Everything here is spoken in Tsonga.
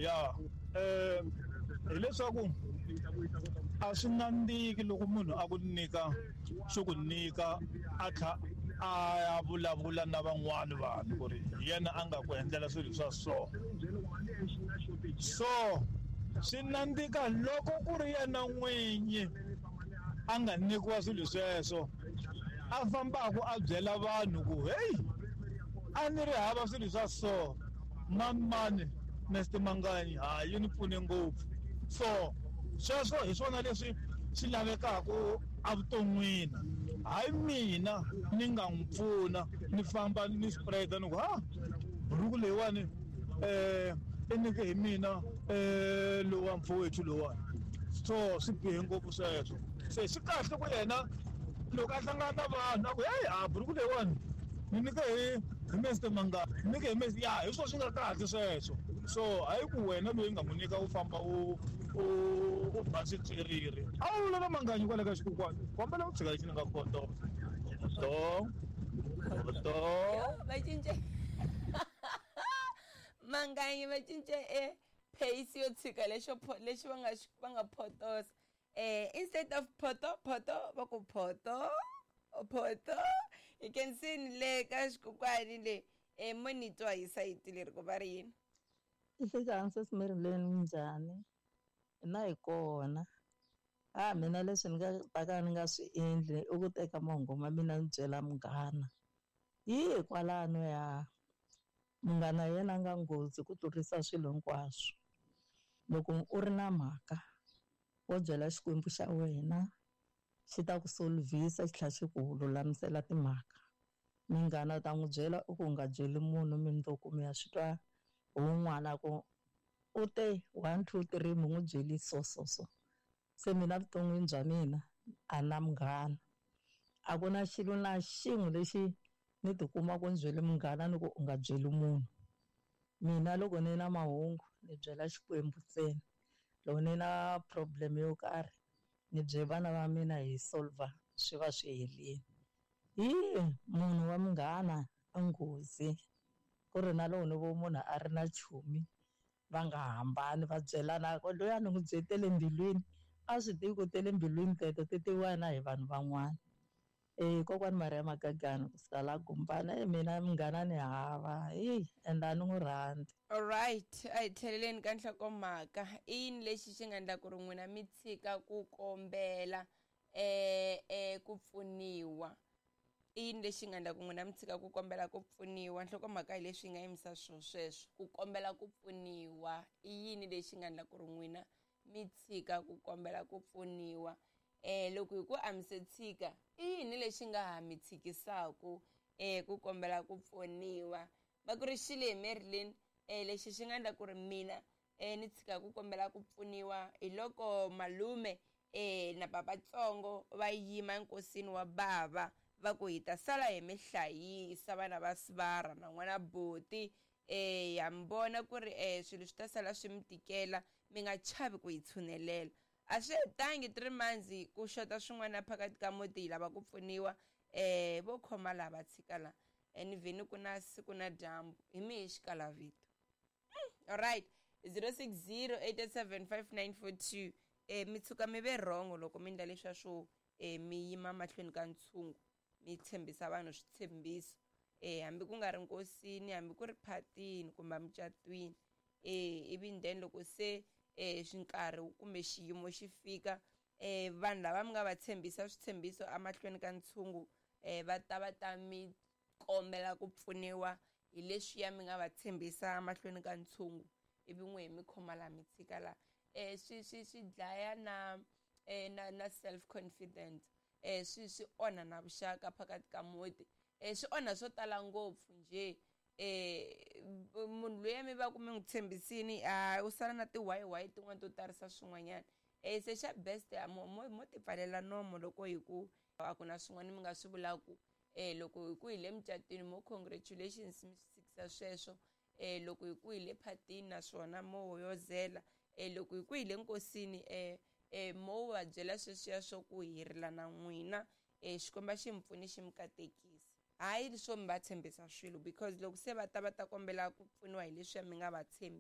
Ya hileswaku a swi nandziki loko munhu a ku nyika xo ku nyika a tlha a ya vulavula na van'wani vanhu ku ri hi yena a nga ku endlela swilo swa so. So swi nandzika loko ku ri yena n'winyi a nga nyikiwa swilo sweswo a fambaka a byela vanhu ku heyi a ni ri hava swilo swa so mani mani Mister Manganyi ha yi ni pfune ngopfu. So sweswo hi swona leswi swi lavekaka evuton'wini hayi mina ni nga n'wi pfuna ni famba ni spread ni ku ha buruku leyiwani i nyike hi mina lowa mfowethu lowani so swi bihe ngopfu sweswo se swi kahle ku yena loko a hlangana na vanhu a ku heyi a buruku leyiwani ni nyike hi hi Mister Mangani ni nyike hi Mister ya hi swona swi nga kahle sweswo so hayi ku wena loyi nga n'wi nyika u famba u u u ba switswiriri a wu lava Manganyi kwale ka xikokwani kombela u tshika lexi ni nga koto to to va cince Manganyi va cince e pace yo tshika lexo lexi va nga va nga photosa instead of photo photo va ku photo photo. You can see ni le ka xikokwani le mo ni twa hi sayiti leri ku va ri yini. Nhlikani sesi Marilyn minjhani? Hina hi kona. A mina leswi ni nga ta ka ni nga swi endli i ku teka mahungu ma mina ni byela munghana. Hi kwalano ya munghana yena a nga nghozi ku tlurisa swilo hinkwaswo. Loko u ri na mhaka wo byela Xikwembu xa wena xi ta ku solvhisa xi tlhela xi ku lulamisela timhaka. Munghana u ta n'wi byela u ku u nga byeli munhu mundzuku mi ya swi twa hi wun'wana ku u te 1 2 3 mi n'wi byeli so so so. Se mina vuton'wini bya mina a na munghana. A ku na xilo na xin'we lexi ni tikuma ku ni byele munghana ni ku u nga byeli munhu. Mina loko ni na mahungu ni byela Xikwembu ntsena. Loko ni na problem yo karhi ni byela vana va mina hi solver swi va swi helini. Hi munhu wa munghana i nghozi ku ri na loko ni vo munhu a ri na chomi va nga hambani va byelana ku loyi a ni n'wi byetele mbilwini a swi tivi ku tele mbilwini teto ti tiviwa na hi vanhu van'wana. Kokwani Maria Magagani kusuka la Gumbana mina munghana ni hava ende a ni n'wi rhandzi. Alright, a hi tlheleleni ka nhlokomhaka. I yini lexi xi nga endla ku ri n'wina mi tshika ku kombela ku pfuniwa? I yini lexi nga endla ku n'wina mi tshika ku kombela ku pfuniwa? Nhlokomhaka hi leswi yi nga yimisa swo sweswo, ku kombela ku pfuniwa. I yini lexi nga endla ku ri n'wina mi tshika ku kombela ku pfuniwa? Loko hi ku a mi se tshika, i yini lexi nga ha mi tshikisaku ku kombela ku pfuniwa? Va ku ri xile hi Marilyn, lexi xi nga endla ku ri mina ni tshika ku kombela ku pfuniwa hi loko malume na papatsongo va yima enkosini wa bava va ku hi ta sala hi mi hlayisa vana va sivara na n'wana buti. Ya mi vona ku ri swilo swi ta sala swi mi tikela, mi nga chavi ku hi tshunelela. A swi hetangi 3 months ku xota swin'wana phakathi ka muti hi lava ku pfuniwa vo khoma laha va tshika la. Ni vheni ku na siku na dyambu hi mi hi xikalavito. Alright, 060 887 5942. Mi tshuka mi ve wrong loko mi endla leswiya swo mi yima mahlweni ka ntshungu mi tshembisa vanhu switshembiso hambi ku nga ri nkosini hambi ku ri phatini kumbe mucatwini ivi then loko se nkarhi kumbe xiyimo xi fika vanhu lava mi nga va tshembisa switshembiso emahlweni ka ntshungu va ta va ta mi kombela ku pfuniwa hi leswiya mi nga va tshembisa emahlweni ka ntshungu ivi n'we mi khoma laha mi tshika laha swi swi swi dlaya na na self confidence swi swi onha na vuxaka phakathi ka muti swi onha swo tala ngopfu nje munhu loyi mi va ku mi n'wi tshembisini a u sala na ti-why tin'wana to tarisa swin'wanyana se xa best mo mo mo ti pfalela nomo loko hi ku a ku na swin'wana mi nga swi vulaku loko hi ku hi le mucatwini mo congratulations mi swi tshikisa sweswo loko hi ku hi le phatini naswona mo hoyozela loko hi ku hi le nkosini mo va byela sweswiya swo ku hi rila na n'wina Xikwembu xi mi pfuni xi mi katekisa. Hayi swo mi va tshembisa swilo because loko se va ta va ta kombela ku pfuniwa hi leswiya mi nga va tshembi.